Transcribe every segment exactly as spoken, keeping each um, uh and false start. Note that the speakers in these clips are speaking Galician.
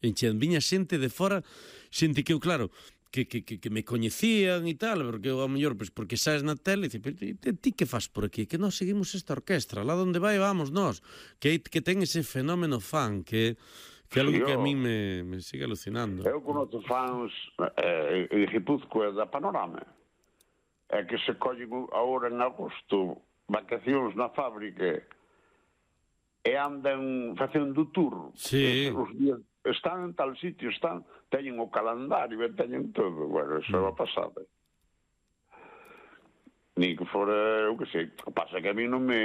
enchían, viña xente de fora, xente que eu, claro, que, que, que, que me coñecían e tal, porque eu, ao mellor, pues, porque sabes na tele, e dice, pero ti que faz por aquí? Que nós seguimos esta orquestra, lá donde vai vamos nós, que, que ten ese fenómeno fan, que... que é algo que a mí me, me sigue alucinando. Eu conozco fans eh, de Guipúzcoa da Panorama, é que se collen agora en agosto vacacións na fábrica e andan facendo tour. Sí. Os días están en tal sitio, están, teñen o calendario e teñen todo. Bueno, eso é a pasada. Ni que fora, eu que sei, pasa que a mí non me...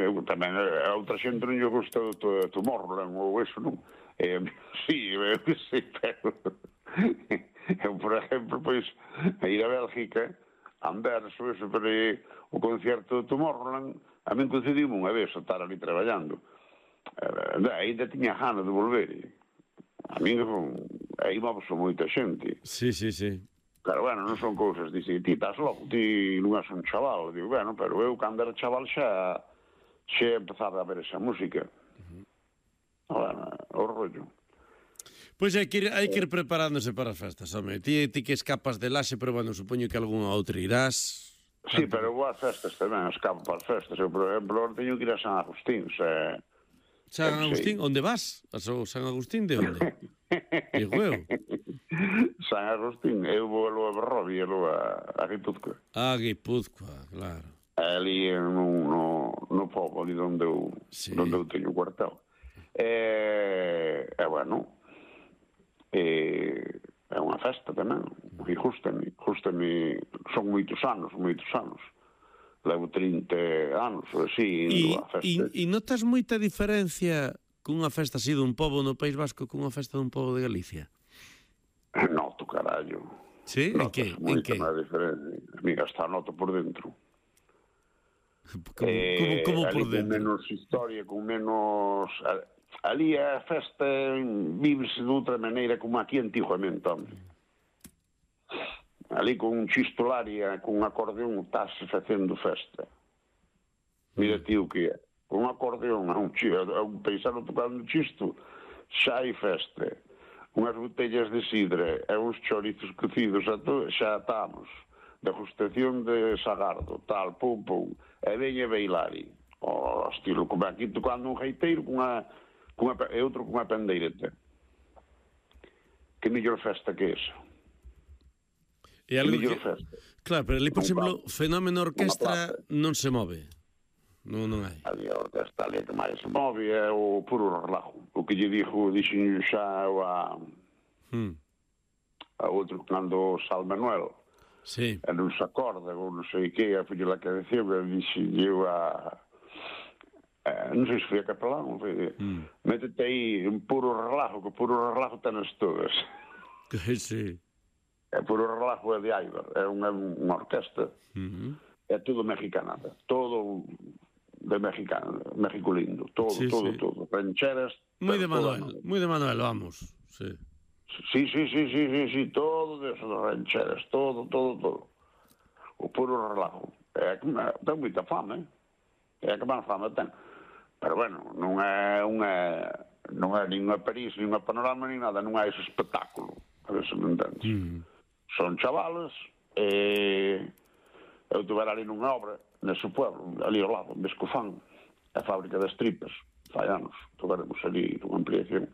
Eu, tamén, a outra xente non lle gusta o Tomorrowland ou eso, non? Eh, sí, eu que sei, pero... eu, por exemplo, pois, a ir a Bélgica, a Anverso, eso, pero o concerto do Tomorrowland, a mí concedimos unha vez a estar ali traballando. Eh, ainda tiña gana de volver. A mí, aí vamos a moita xente. Sí, sí, sí. Pero, bueno, non son cousas, dice, ti estás loco, ti non és un chaval. Digo, bueno, pero eu, cando era chaval, xa xa empezaba a ver esa música. Uh-huh. Bueno, o rollo. Pois hai que ir, hai que ir preparándose para as festas, home. Ti, ti que escapas de Laxe, pero, bueno, supoño que algunha outra irás. Sí, tanto... pero vou ás festas tamén, escapo para as festas. Eu, por exemplo, teño que ir a San Agustín, se... San Agustín, onde vas? A San Agustín de onde? Digo eu. San Agustín, eu vou a Berrovia, a, a Guipúzcoa. Ah, Guipúzcoa, claro. Ali no, no, no povo, ali onde eu, sí. onde eu teño o cuartel. E, e bueno, e, é unha festa tamén, e justame, justame, son moitos anos, moitos anos. Levo trinta anos, ou así, indo a festa. E, e notas moita diferencia cunha festa así dun pobo no País Vasco cunha festa dun pobo de Galicia? Noto, carallo. Sí? En que? En que? Diferencia. Amiga, está noto por dentro. Como, eh, como, como por dentro? Con menos historia, con menos... Ali a festa vívese de outra maneira como aquí antiguamente, hombre. Ali con un chistolaria, con un acordeón, estás facendo festa. Mira ti o que é. Con un acordeón, a un, a un paisano tocando chisto, xa hai festa. Unhas botellas de sidra e uns chorizos cocidos, xa atamos. Degustación de sagardo, tal, pum, pum. E veña bailari. O estilo, como aquí tocando un gaiteiro con a, con a, e outro con a pandeireta. Que mellor festa que esa? E algo que... Festa. Claro, pero ali, por exemplo, fenómeno orquestra non se move. Non, non hai. Ali a orquestra ali que máis se move é o puro relajo. O que lle dixo, dixen xa a... Hmm. A outro cando Sal Manuel. Sí. E non se acorda, ou non sei que, a filha que decía, dixen eu a... Eh, non sei se foi a capelán, foi... Hmm. Métete aí un puro relajo, que puro relajo tenes todas. Sí. É puro relajo de Aibar, é unha, unha orquesta, uh-huh. É todo mexicanada, todo de mexicano, México lindo, todo, sí, todo, sí. todo, rancheras... Moi de Manuel, moi de Manuel, vamos, sí. Sí, sí, sí, sí, sí, sí, todo de eso, de rancheras, todo, todo, todo. O puro relajo. É que ten moita fama, é que máis fama ten. Pero, bueno, non é unha... non é nin unha París, nin unha Panorama, nin nada, non é ese espectáculo, a ver se me entendes. Uh-huh. Son chavales, e eu tuve ali nunha obra, nese pueblo, ali ao lado, en Bescofán, a fábrica das tripas, fai anos, tuveremos ali unha ampliación.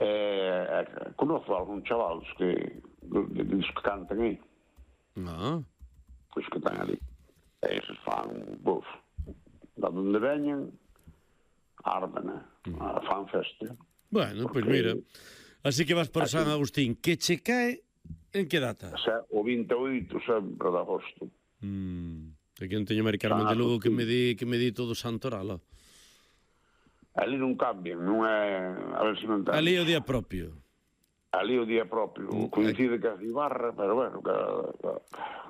E, e conozco algún chavales que, que, que cantan aí. Ah. Pois que están ali. E eses fan, buf, da onde veñen, arman, a fan festa. Bueno, pois pues mira, así que vas por así, San Agustín, que che cae en que data? Xa, o vinte e oito sempre de agosto. Mm, aquí non teño Mari Carmen de Lugo que me di que me di todo Santoral. Ali non cambian, non é... A ver se non entendo. Ali é o día propio. Ali é o día propio. Mm, coincide que a Cibarra, pero bueno, cada, cada,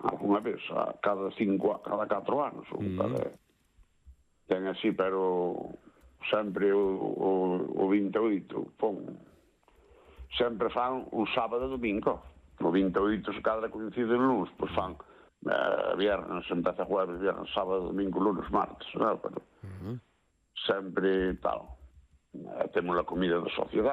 alguna vez, a cada cinco, cada catro anos, ou mm. cada... Ten así, pero sempre o, o, o vinte e oito, pon... Sempre fan un sábado e domingo. O vinte e oito se cadra coincide en lunes, pois fan eh, viernes, empeza jueves, viernes, sábado, domingo, lunes, martes, non? Pero uh-huh. sempre tal. Eh, temos a comida da sociedade,